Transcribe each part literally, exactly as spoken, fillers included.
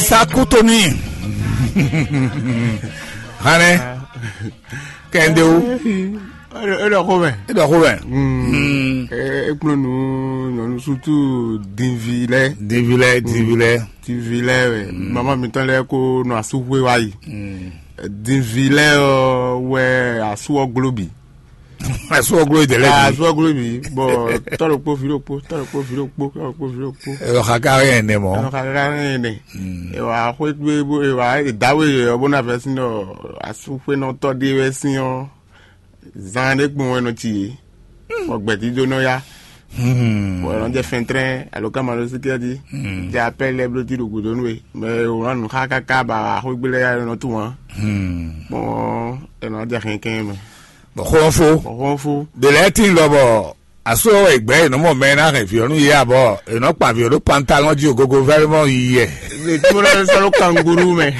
Sakutoni. Hane. Kende o. E ɖɔ xó mɛ. E ɖɔ xó mɛ. Ekplɔ́ nǔ nyɔ̌nu sútú dinvi lɛ́ɛ. Dinvi lɛ́ɛ, dinvi lɛ́ɛ. Dinvi lɛ́ɛ wɛ. Mama mitɔn lɛ́ɛ ko nɔ asúxwé wá yi. Dinvi lɛ́ɛ ɔ́ wɛ asú ɔ́ gló bǐ. Asú ɔ́ gló yi dɛ̌ lɛ́ɛ bǐ. Asú ɔ́ gló bǐ. Bɔ tɔ́ ɖokpó, vǐ ɖokpó, tɔ́ ɖokpó, vǐ ɖokpó, tɔ́ ɖokpó, vǐ ɖokpó. Ɛ lɔ xa ka hɛn ɛnɛ mɔ. Ɛ lɔ xa ka hɛn ɛnɛ. Ɛ wá xwé gbé bó ɛ wá ɛ dǎwe yɛ ɔ́ bó ná vɛ́ sín ɖɔ asúxwénɔtɔ́ ɖé wɛ sín ɔ́, zan ɖé kpɔ́n wɛ nɔ ci yě. Bɔ gbɛ̌dídó nɔ yá. Bɔ ɛ nɔ jɛ fɛntrɛn alo ká ma ɖó síkɛ́ jí. Jɛ apɛ́ lɛ́ɛ bló jí ɖo gǔdo nú we. Mɛ e wlán nǔ xá káká ba axwégbé lɛ́ɛ yá nɔ tunwun ǎ. Gbɔn ɛ nɔ jɛ xɛnkɛn mɛ. Bɔ xɔ́nfó. Bɔ xɔ́nfó. Ɖe lɛ́ɛ tíin lɔ bɔ asó ɔ́ wɛ gbɛ̌ è nɔ mɔ mɛ e ná hɛn vǐ ɔ́ nú yě ǎ bɔ è nɔ kpa vǐ ɔ́ ɖó pantalɔ́n jí gogo vɛ́vɛ́ mɔ yi yɛ. Lè tí mo lɛ́ sɔ́ ɖó kanguru mɛ.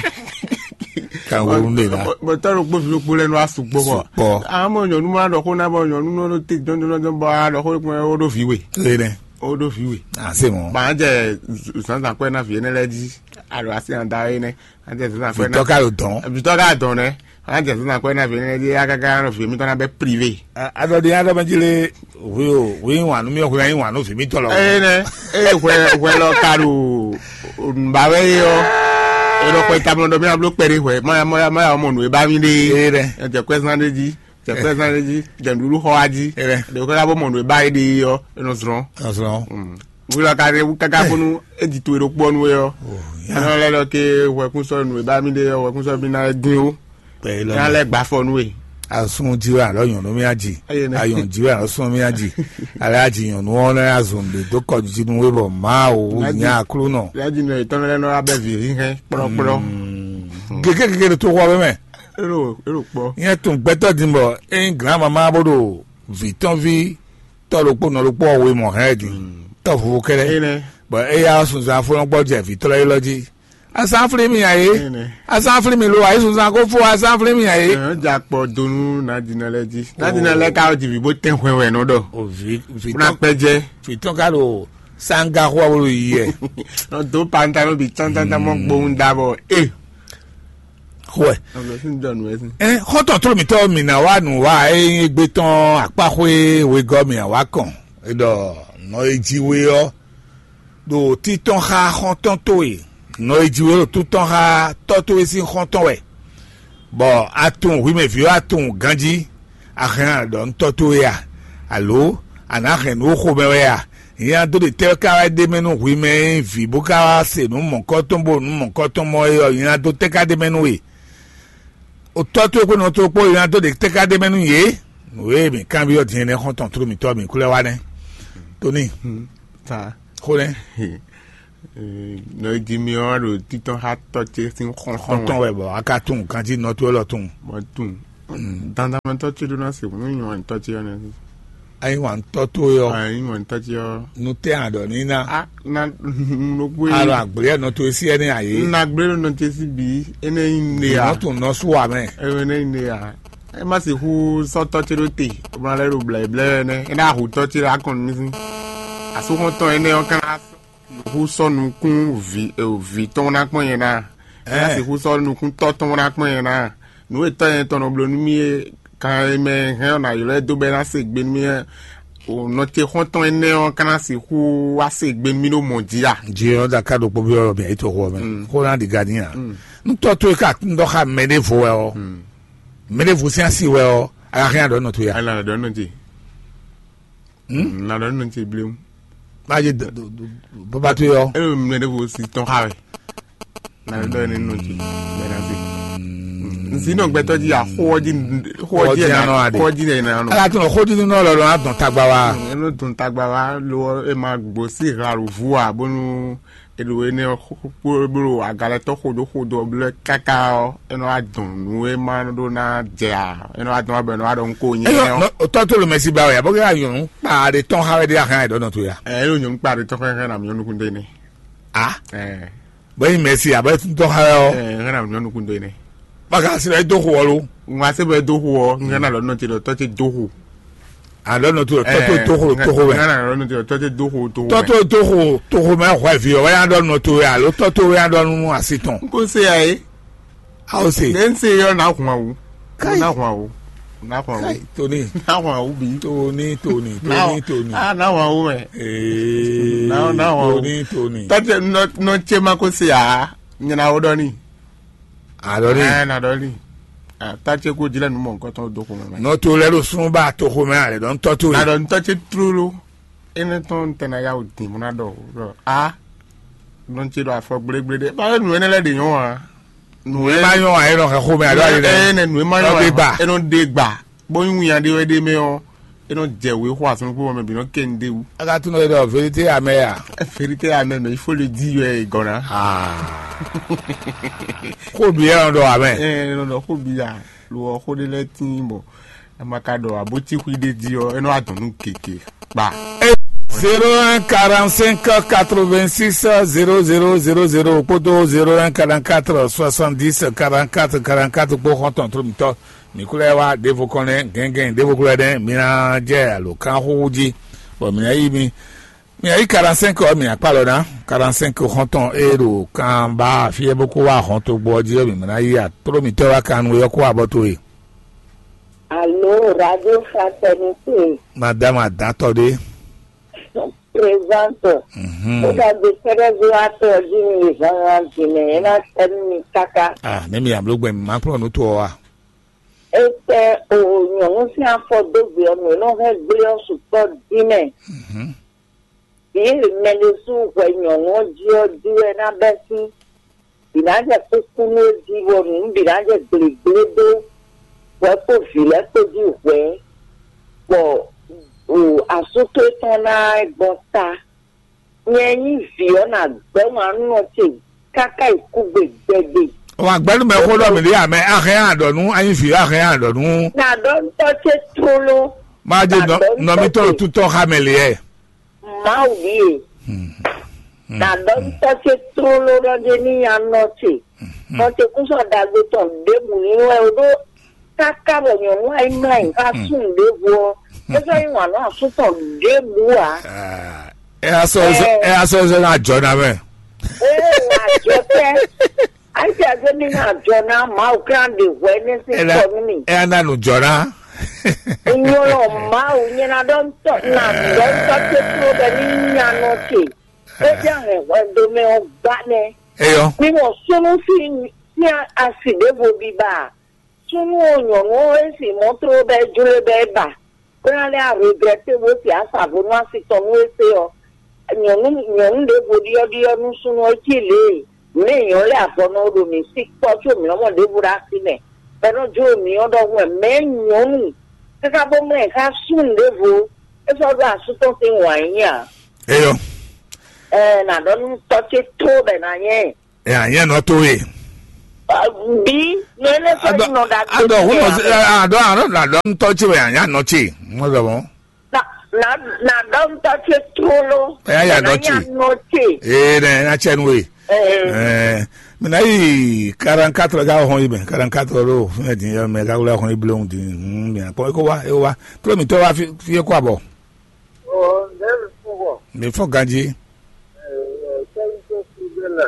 Kanguru ɖe la. Bɔ tɔ́ ɖokpó vǐ ɖokpó lɛ́ɛ nɔ asú gbɔ bɔ. Sukpɔ. Amɔ nyɔ̌nu ma ɖɔ xó ná bɔ nyɔ̌nu nɔ ɖo te jɔnjɔnjɔn bɔ a ɖɔ xó ɖokpó ó ɖó vǐ we. Ene. Ó ɖó vǐ we. Ase mɔ. Ba jɛ zǎnzǎn kɔɛ ná vǐ énɛ́ lɛ́ɛ jí. A ɖo asi anda énɛ́. A jɛ zǎnzǎn kɔɛ ná. Vitɔ ka ɖo dɔn. Vitɔ ka dɔn nɛ. A jɛ zǎnzǎn kɔɛ ná vǐ énɛ́ jí a káká nɔ vǐ mitɔn ná bɛ privé. Adɔdi adɔ mɛ jí lé. Wi o wi wà nú mi wi wà nú vǐ mitɔn lɔ. Eye nɛ eye hwɛ hwɛ lɔ ka ɖo nùbawɛ ye ɔ́. Eye lɔ kɔ tamɔ ɖɔ mi abló kpɛɖé hwɛ ma ma ma ya mɔ nù e ba mi ɖe. Eye dɛ. Ɛjɛ kɔɛ zan ɖe jí. Jɛ kɔɛ zan ɖe jí. Jɛ nǔɖuɖu xɔ wa jí. Eye dɛ. Ɖe kɔɛ ka bɔ mɔ nù e ba yi ɖe yi ɔ́ enɔ zlɔn. Azɔn. Wi lɔ ka ɖe wu kaka bónú e di to e ɖokpó ɔ́ nú we ɔ́. Ɛnɔ lɛ lɔ ke hwɛkún sɔ nù e ba mi ɖe ɔ́ hwɛkún sɔ mi ná dín ó. Pẹ̀lú Ní alẹ́ gbà fọnú e. Asun jí wɛ alɔ nyɔnu mía jí. Eye nɛ. Ayɔn jí wɛ alɔ sún mía jí. Alɛ ají nyɔnu ɔ́ lɛ azɔn ɖe dó kɔjú jí nú wé bɔ Mawu Ná jí. Nya Aklúnɔ. Yájí nɔ ìtọ́nú lẹ́nu abẹ́ vǐ hínhɛn kplɔ́kplɔ́. Gègé gègé ɖo tó xɔ wɛ mɛ. Ero ero kpɔ. Nyɛ tún gbɛtɔ dín bɔ eyin glan mama bó ɖo vǐ tɔn ví tɔ ɖokpó nɔ ɖokpó ɔwe mɔ hɛn din. Tɔ vovo kɛlɛ. Eye nɛ. Bɔ eya sunzan fɔlɔn gbɔ jɛ vǐ tɔlɔ yi lɔ jí. Asanflin mi ǎ é. Asanflin mi lo ayísunzan kó fó asanflin mi ǎ é. Ɛ ja kpɔ donu nadina lɛ dzi nadina lɛ ka ji vi bó tɛn hwɛ wɛ nɔ dɔ. O vi vi Kuna tɔn kpɛ jɛ. Vi tɔn ka ɖo sanga xɔ wolo yi yɛ. Nɔ do pantalo bi tantanta mɔ gbóhùn dabɔ e. Xɔɛ. Ɔlọ sí dɔnu ɛ sí. Ɛ xɔtɔ tó mi tɔ mi na wa nu wa eye gbe tɔn akpaxwe wegɔ mi awa kɔn. Edɔ nɔ eji we ɔ. Ɖo títɔn xá xɔ́ntɔn towe, nɔ e jí we ɖo títɔn xá tɔ́ towe sín xɔ́ntɔn wɛ, bɔ a tunwun hwi mɛ vǐ ɔ́, a tunwun ganjí, a hɛn a ɖɔ nú tɔ́ towe a? Alo a nǎ hɛn nǔ xo mɛ wɛ a? Nyɛ ná dó ɖe tɛ́ ká wá ɖ'é mɛ nú hwi mɛ e nyí vǐ bó ká wá se nǔ mɔ̌kɔ́tɔn bó nǔ mɔ̌kɔ́tɔn mɔ é ɔ́, nyɛ ná dó tɛ́ ká ɖ'é mɛ nú we? O tɔ́ towe kpó nɔ towe kpó, nyɛ ná dó ɖe tɛ́ ká ɖ'é mɛ nú yě? Nǔ e mǐ kanbyɔ́ din é nɛ́ xɔ́ntɔn tlú mǐtɔn mǐ kú lɛ́ wá nɛ́. Tóní. Ta. Xó nɛ́. Nɔ e jí mi ɔ́ ɖo títɔn xá tɔ́ ce sín xɔ́ntɔn xɔ́ntɔn wɛ. Wɛ bɔ a ka tunwun ganjí nɔ towe lɔ tunwun. Mɔ tunwun. Dandanmɛtɔ́ ce ɖó ná se nú nyɔ̌ntɔ́ ce ɔ́ nɛ́. Ayi wǎntɔ́ towe ɔ́. Ayi wǎntɔ́ ce ɔ́. Nu tɛ a ɖɔ ní ná. A na ɖokpó. A ɖɔ agblé ɛnɔ towe sí ɛnɛ a yě. Na gblé ɖo nɔ ce sí bǐ. Énɛ́ nyí ne a. Nɔ tún nɔ sú wa mɛ. Énɛ́ nyí ne a. E ma sixú sɔ́ tɔ́ ce ɖó te, bó ná lɛ́ ɖo blɛ̌blɛ́ wɛ nɛ́. É ná hu tɔ́ ce ɖo akɔn nú mì sín. Asúxɔ́ntɔn énɛ́ ɔ́ ka ná sixú sɔ́ nukún vǐ vǐ tɔn ná kpɔ́n nyɛ ná. É ná sixú sɔ́ nukún tɔ́ tɔn ná kpɔ́n nyɛ ná. Nǔ e tɔ́ nyɛ tɔn nɔ bló nú mì é kan e mɛ hɛn ɔ́ ná ylɔ́ ɛ dó bɔ é ná se gbe nú mì é. O nɔ ce xɔ́ntɔn énɛ́ ɔ́ ka ná sixú wá se gbe nú mì ɖo mɔ̌ jí a? Jí ɔ́ da ká ɖokpó byɔ́ mǐ ayǐ toxo ɔ́ mɛ. Xó ná ɖi gǎ n'i a? Nú tɔ́ towe ka un ɖɔ xá mɛ ɖěvo wɛ ɔ́, mɛ ɖěvo sín asi wɛ ɔ́, a ka hɛn aɖɔ̌ nɔ towe a? Ala ɖɔ nɔ ce. Na ɖɔ nɔ ce bléwu. Má yé bábá towe ɔ́. E ɖo mɛ ɖěvo si tɔn xá wɛ. Na ɖɔ ne nɔ ce. Mɛ na se. Nsi nɔ gbɛtɔ ji a xó ɔ́ ji xó ɔ́ ji Xó ɔ́ ji na nɔ aɖe. Xó ɔ́ ji na nɔ. Ala tún xó didi nɔ lɔlɔ adɔn tagba wa. Eno dun tagba wa lo e ma gbo si ha lo vu a bonu eɖo énɛ́ ɔ́ kpó bló agalɛtɔ́ xodó xodó ɔ́ blɛ́ káká ɔ́, é nɔ wá dɔn nǔ e ma ɖó ná jɛ ǎ. É nɔ wá dɔn wá bɔ é nɔ wá ɖɔ nú ko nyɛ Eyɔ ɔ́. Nɔ- tɔ́ tó lo mɛsi ba wɛ a bɔ kɛ ayɔnu kpa ɖe tɔn xa wɛ ɖe ahan ɛ ɖɔ nɔ to ya. Ɛ é ɖo nyɔnu kpa ɖe tɔn xɛxɛ na mi nyɔnu kun de ne. A Ɛ bɔ yi mɛsi a bɔ tɔn xa wɛ ɔ. Ɛ xɛ na mi nyɔnu kun de ne. Baka si lɛ do xo ɔ lo. Ŋun ase bɛ do xo ɔ ŋun xɛ na lɔ nɔ te ɖɔ tɔ te do xo. Alɔ nɔ to tɔtɔ toxo toxo mɛ. Nana nɔ to tɔtɔ toxo toxo mɛ. Tɔtɔ toxo toxo mɛ hwɛ vi ɔ wɛ ya dɔ nɔ to ya alo tɔtɔ wɛ ya dɔ nu asi tɔn. N ko se ya ye. Aw se. Ne n se yɔ na hun awu. Kai. Na hun awu. Na hun awu. Kai toni. Na hun awu bi. Toni toni toni toni. Ah, na hun awu mɛ. Ee. Na na hun awu. Toni toni. Tɔtɔ nɔ nɔ tse ma ko se ya. Nyina wo dɔ ni. Alɔ ni. Ɛ na dɔ ni. Ah, ta tse ko jilɛ nu mɔ nkɔtɔn do ko mɛ. Nɔ to lɛ ɖo sunba toxo mɛ ale dɔn tɔ to. Na dɔ ntɔ tse tlolo. Ene tɔn tɛ na ya o din mo na dɔ dɔ a. Nɔ tse ɖo afɔ gblegble ɖe. Ba nù ene lɛ de nyɔ wa. Nù ene ma nyɔ wa e nɔ xɛ xo mɛ alo ale dɛ. Ene nù ema nyɔ wa. Ɔgbe gba. Enɔ de gba. Bó nyí wínya ɖé wɛ ɖé mɛ ɔ́, é nɔ jɛ wě xo asun kpó mɛ bǐ nɔ kɛ nu d'é wú. Aka tún nɔ ɖɔ vérité amɛ ya. Vérité amɛ mɛ ifo le di yɔ ɛ gɔna. Xó bǐ ɛ nɔ ɖɔ amɛ. Ɛ nɔ ɖɔ xó bǐ ya lo ɔ xó ɖé lɛ́ɛ tín bɔ amaka ɖɔ abótí xwí ɖé di ɔ é nɔ adɔn nú gěgé kpa. Zéro un quarante-cinq quatre-vingt-six zéro zéro zéro zéro kpódó zéro un quarante-quatre soixante-dix quarante-quatre quarante-quatre kpó xɔ́ntɔn tlóló mǐtɔn. Mǐ kú lɛ́ wá ɖěvo kɔn nɛ́ gɛ̌ngɛ̌n ɖěvo kú lɛ́ nɛ́ mi ná jɛ alo kán xúxú jí, bɔ mǐ ná yí mi. Mi ná yí quarante-cinq ɔ́, mǐ ná kpá lɔ ná quarante-cinq xɔ́ntɔn e ɖo kanba fí é bó kó wá hɔn togbo ɔ́ jí ɔ́, mǐ ná yí atló mǐtɔn wá kan nú é ɔ́ kó wá bɔ towe. Alo, Radio Fraternité. Madame Adatɔ ɖé. Présente. Mhm. Ó dàgbé kɛ́ɖɛ́ ví wá tɔ jí mi zan wá jǐ mɛ, é ná tɛ nú mi káká. Ah, ne mi amló gbɛ mi má kplɔ́n nú to ɔ́ wa. Étɛ́ o nyɔ̌nu sín afɔ dó gbe ɔ́, nǔ e nɔ hɛn gblé ɔ́ sukpɔ́ dín mɛ. Vǐ e mɛ ɖésú hwɛ nyɔ̌nu ɔ́ jí ɔ́ jí wɛ ná bɛ́ sín. Vǐ ná jɛ kúkú nú é jí, bɔ nǔ bǐ ná jɛ gblěgblé dó hwɛ kpó vǐ lɛ́ɛ kpó jí hwɛ, bɔ o asú towe tɔn ná gbɔn ta. Nyɛ nyí vǐ ɔ́, nǎ gbɛ́ wǎn nú nɔ ce káká yi kúgbe gbɛgbɛ. Wǎn gbɛ́ nú mɛ xó ɖɔ mǐ ɖe ǎ mɛ, a hɛn a ɖɔ nú, a nyí vǐ ɔ́, a hɛn a ɖɔ nú. Nǎ ɖɔ ntɔ́ ce tlóló. Má jɛ nɔ nɔ mítɔn ɖo tútɔ́ xá mɛ lě ɛ. Mawu ɖíe. Nǎ ɖɔ ntɔ́ ce tlóló ɖɔ jɛ ní nya nɔ ce. Nɔ ce kún sɔ́ ɖagbe tɔn ɖěbǔ ní wɛ o ɖó káká bɔ nyɔ̌nu ayí mlá yǐ xá súnnu ɖěvo ɔ́, é sɔ́ yí wǎn nú asú tɔn ɖěbǔ ǎ. Ɛ a sɔ ɛ a sɔ zɛ na jɔ na mɛ. Ee, ajɔ tɛ. Ayi tɛ zɛ mi na jɔ na Mawu kan ɖe hwɛ ne si sɔ nú mi. Ɛ a na nu jɔ na. Nyɔlɔ Mawu nyɛ na ɖɔ ntɔ na ɖɔ ntɔ ce kúrò bɛ ní nya nɔ ce. É jɛ hɛn hwɛ do mɛ ɔ́ gbá nɛ. Eyɔ. Mi mɔ súnú sín sín asi ɖěvo biba. Súnnu ɔ́ nyɔ̌nu ɔ́ e sin mɔ̌ tló bɔ é jló bɔ é ba, bó ná lɛ́ aregrɛ́te bó se asǎvo nú asi tɔn nú é se ɔ́, nyɔ̌nu nyɔ̌nu ɖěvo ɖyɔ́ɖyɔ́ nú súnnu ɔ́ cí lě e mǐ mɛ nyɔ̌nu lɛ́ɛ avɔ nɔ ɖo mǐ sí kpɔ́ có mǐ nɔ́ mɔ ɖěvo ɖo así mɛ, bɔ é nɔ́ jló mǐ ɔ́ ɖɔhun wɛ mɛ̌ nyɔ̌nu káká bó mlɛ́ xá súnnu ɖěvo é sɔ́ ɖó asú tɔn sín wǎn nyí a? Eyɔ. Ɛɛ, nǎ ɖɔ nú tɔ́ ce tó bɔ è nǎ nyɛ ɛ. Ɛ anyɛ nɔ to ye. Bi nɔ ele fɛ nɔ da. Adɔ hun nɔ adɔ anɔ na dɔ ntɔ tsi wɛ anya nɔ tsi. Mo dɔ mɔ. Na na na dɔ ntɔ tsi trolo. Ɛ ya nɔ tsi. Nɔ tsi. Ee nɛ na tsɛ nu ye. Ɛɛ. Mina yi quarante-quatre ga hɔn yi mɛ quarante-quatre lo fún ɛ din yɛ mɛ gawula hɔn yi blewu din. Mina kpɔ eko wa eko wa. Tlo mi tɔ wa fi fi eko abɔ. Ɔ ndɛ mi fún bɔ. Mi fɔ ganji. Ɛ sɛyi tó fi bɛ la.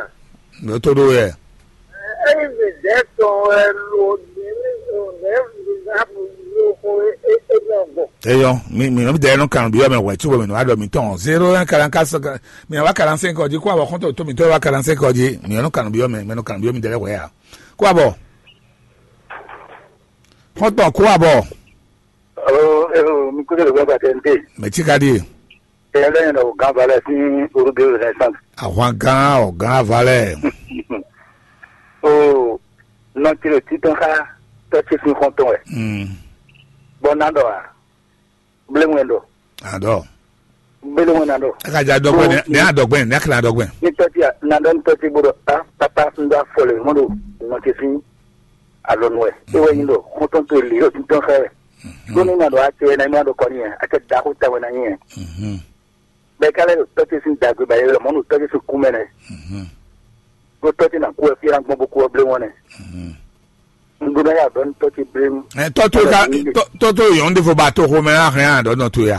Ló tó ɖó yɛ. Eyi mi dɛ tɔn ɛ lo ní ní ní ní ní ní ní ní ní ní ní ní. Eyɔ mi mi nɔ bi dɛ nɔ kanu bi yɔ mɛ wɛ tsi wɔ mi nɔ adɔ mi tɔn zéro un quarante-quatre mi wa quarante-cinq ɔdi kó abɔ kɔntɔ tó mi tɔ wa quarante-cinq ɔdi mi nɔ kanu bi yɔ mɛ mɛ nɔ kanu bi yɔ mi dɛ wɛ ya kó abɔ. Kɔntɔ kó abɔ. Alo, alo, mi kúndé lè gbàgbà tẹ̀ ń dé. Mɛ tsi ka di. Ẹ lẹ́yìn náà, ọ̀gá balẹ̀ sí orúkọ Renaissance. Àwọn gan ọ̀gá balẹ̀. O, nɔ tiro títún ká tọ́sí fún kọ́ntún ẹ̀. Bọ́ ná dọ̀ wá. Bílẹ̀ wọn dọ̀. Àdọ̀. Bílẹ̀ wọn dọ̀. Ẹ ka jẹ adọ́gbẹ́ ni, ní adọ́gbẹ́ ni, ní akílẹ̀ adọ́gbẹ́. Ní tọ́sí à, ní adọ́ ní tọ́sí gbọ́dọ̀, á, pápá ń dá fọlẹ̀ mọ́tò, nọ ti sí alɔnu ɛ. E wɛ nyi ɖɔ xɔntɔn to li ɖo títɔn xɛ wɛ. Ɖó ní ma ɖo acɛ na ma ɖo kɔ n'i yɛ, acɛ da xó ta wɛ na nyi yɛ. Bɛ kálẹ̀ ɖo tɔ́tí sín dagbe ba yɛ lɔ mɔnu tɔ́tí sín kú mɛ nɛ. Ɖó tɔ́tí na kú ɛ fí na gbɔn bó kú ɔ blé wɔn nɛ. N Bó ná yà bɛ́ ní tɔ́ ce blémú. Ɛ tɔ́ tó ka tɔ́ tó yɔn ɖé fo ba to xomɛ á hɛn á ɖɔ nɔ to ya.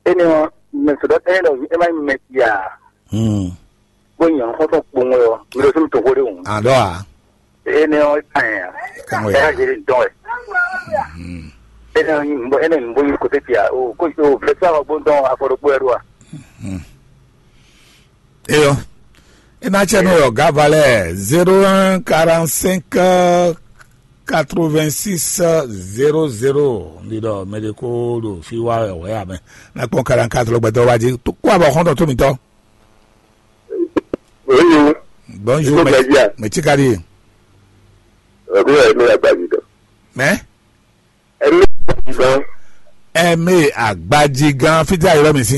Énɛ́ ɔ́, mɛ sɔ̌ ɖɔ énɛ́ ɖɔ é má nyí mɛ sia. Hmm. Bó nyí ɔ́n xɔ́ntɔn kpowun wɛ ɔ́, mi ɖo sínú toxo ɖé hǔn. Àɖɔ à. Énɛ́ ɔ́ é ka nyɛ a. Kan wɛ. Ɛ yá zé dɔn wɛ. Hmm. Énɛ́ ɔ́ nyí nǔbó énɛ́ nǔbó nyí kote sia o ko o vɛsɛ ɔ́ gbó dɔn afɔ ɖokpó wɛ ɖo a. Hmm. Eyɔ. Ena tsɛ nɔ yɔ gavalɛ zéro un quarante cinq quatre vingt six zéro zéro. Ndi ɖɔ mɛ ɖe ko ɖo fi wa wɛ wɛ amɛ. Na kpɔn quarante quatre gbɛtɔ wa dzi. Kó abɔ xɔntɔn tó mitɔ. Bonjour. Bonjour, mɛ tsi ka di. Ɛ̀mí ẹ̀mí agbájú dán. Mɛ. Ẹ̀mí agbájú dán. Ɛ̀mí agbájí gan fítí ayé lọ́mì sí.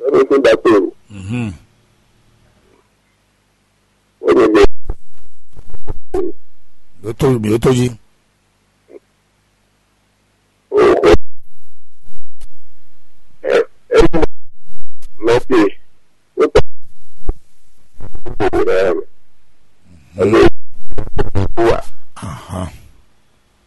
Ẹ̀mí tó dá pé o. Mhm. Ó ní bẹ́ẹ̀. Ó tó mi, ó tó jí. Ó kó. Ẹ ẹ ní mọ̀ pé ó tọ́. Ó kó rẹ̀. Mhm. Ó wà.